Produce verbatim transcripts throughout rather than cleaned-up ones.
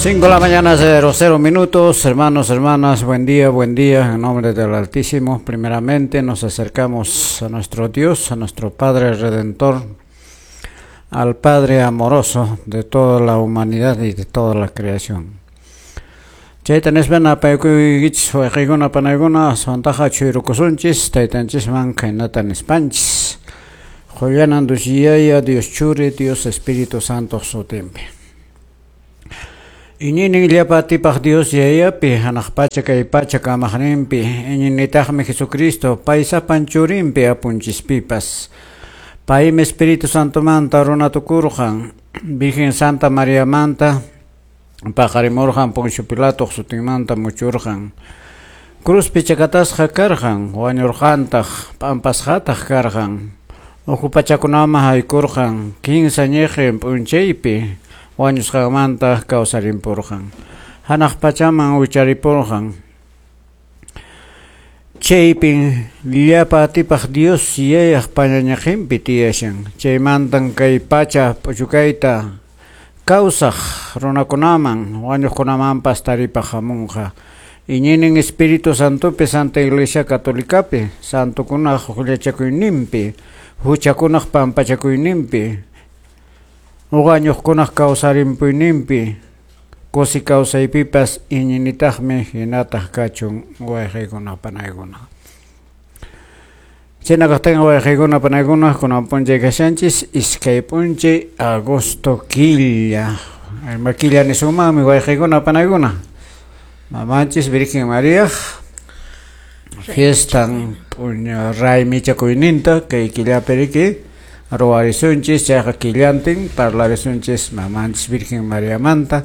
Cinco de la mañana, cero cero minutos. Hermanos, hermanas, buen día, buen día. En nombre del Altísimo, primeramente nos acercamos a nuestro Dios, a nuestro Padre Redentor, al Padre amoroso de toda la humanidad y de toda la creación. Chayta nispa apaykuykichis wayqiykuna panaykuna aswantaqa chuyrukusunchis taytanchisman khaynata nispanchis. Qollanan Dios Yaya, Dios Churi, Dios Espíritu Santo sutinpi. Iñinin llapa atipaq Dios Yayapi, hanaq pacha kay pacha kamaqninpi, iñinitaqmi Jesucristo, pay sapan churinpi apunchispipas. Paymi Espíritu Santomanta runa tukurqan, Virgen Santa Mariamanta, paqarimurqan Poncio Pilato sutinmanta muchurqan. Cruzpi chakatasqa karqan, wañurqantaq, p'ampasqataq karqan. Ukhu pachakunaman haykurqan, kinsa ñiqin p'unchaypi, wañusqanmanta kawsarimpurqan. Hanaq pachaman wicharipurqan. Chaypin llapa atipaq Dios Yayaq pañañaqinpi tiyashan. Chaymantan kay pacha p'uchukayta kawsaq runakunaman, wañuqkunamanpas taripaq hamunqa. Iñinin Espíritu Santopi, Santa Iglesia Católicapi, santukunaq huchachakuyninpi, huchakunaq pampachakuyninpi, wañuqkunaq kawsarimpuyninpi, kusi kawsaypipas iñinitaqmi hinataq kachun wayqiykuna panaykuna. Chayna kaqtin wayqiykuna panaykuna kunan p'unchay kashanchis iskay p'unchay agosto killa. Ima killa nisunmanmi wayqiykuna panaykuna. Mamanchis Virgen María fiestan p'uña raymichakuyninta kay killapi riki ruwarisunchis chayqa killantin parlarisunchis mamanchis Virgen Mariamanta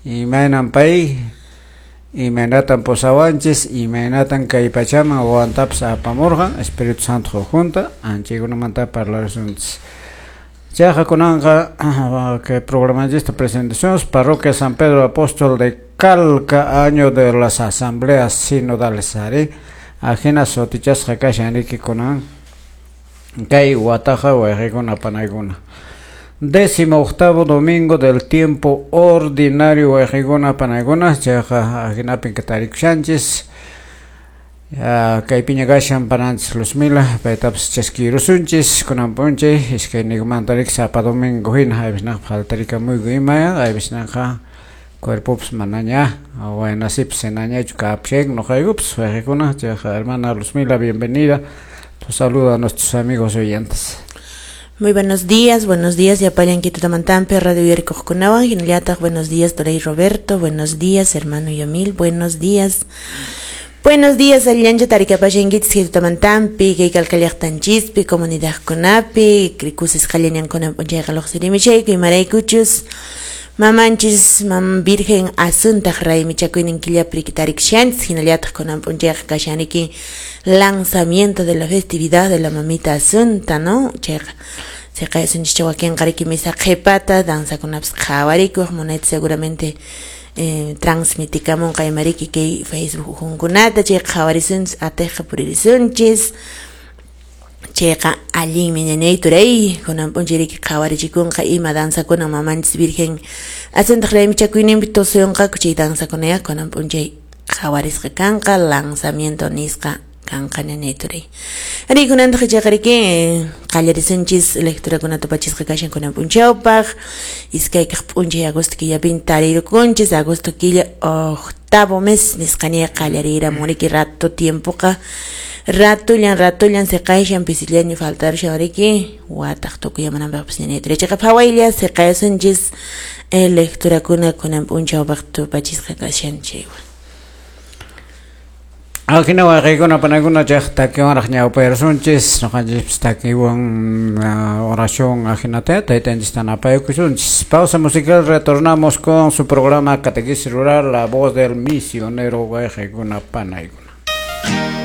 imaynan pay imaynatan pusawanchis imaynatan kay pachaman wawantapas apamurqan Espíritu Santo junta anchaykunamanta parlarisunchis. Chayqa kunanqa kay programanchista presentaciones Parroquia San Pedro Apóstol de Calca, año de las asambleas sinodales ari ajina sutichasqa kashan riki kunan kay wataqa wayqiykuna panaykuna. Décimo octavo domingo del tiempo ordinario wayqiykuna panaykuna chayqa ajinapin tarikushanchis. Kaypiña kashan pananchis Luzmila paytapas chaskirusunchis kunan p'unchay iskayniykumanta riki sapa domingo hina aybisnaqa faltarikamuyku imaya aybisnaqa cuerpopas manaña waynasipas hinañachu kapushanku noqaykupas wayqiykuna. Chayqa hermana Luzmila, bienvenida. Tu saludo a nuestros amigos oyentes. Muy buenos días, buenos días, Yapallan Quitutamantampe, Radio Yerikojunawan, Hinallataq, buenos días, Torey Roberto, buenos días, hermano Yomil, buenos días. Buenos días, Allancha Tarikapashankichis Quitutamantampi, kay Calcallaqtanchispi, comunidadkunapi, krikusis qallañankuna p'unchayqa luqsirimishayku, imaraykuchus mamanchis mam Virgen Asuntaq raymichakuynin killapi tarikushanchis, hinallataq kunan p'unchayqa kashaniki lanzamiento de la festividad de la mamita Asunta, ¿no? Chayqa siqayasunchis wakinqa riki misa qhipata danzakunapas qhawarikuq munayta seguramente eh, transmitikamunqa imariki kay Facebook hunkunata chay qhawarisunchis atiqqa puririsunchis. Chayqa allinmi ñañay turay kunan p'unchay riki qhawarichikunqa ima danzakuna mamanchis Virgen Asuntaq raymichakuyninpi tusuyunqaku chay danzakunaya kunan p'unchay qhawarisqa kanqa lanzamiento nisqa kanqa ñañay turay. Ari kunantaq chayqa riki qallarisunchis lecturakuna tupachisqa kashan kunan p'unchawpaq iskaykaq p'unchay agosto killapin tarirukunchis agosto killa octavo mes nisqaña qallariramun riki rato tiempoqa ratullan ratullan siqayshan pisillaña faltarushan riki wataq tukuyamananpaqpas ñañay turay. Chayqa phawaylla siqayasunchis lecturakuna kunan p'unchawpaq tupachisqa kashan chaywan. Ajina wayqiykuna panaykuna chayqa takiwanraq ñawpayrasunchis noqanchis takiwan oración ajinata taytanchista napaykusunchis. Pausa musical, retornamos con su programa Catequesis Rural, la voz del misionero wayqiykuna panaykuna.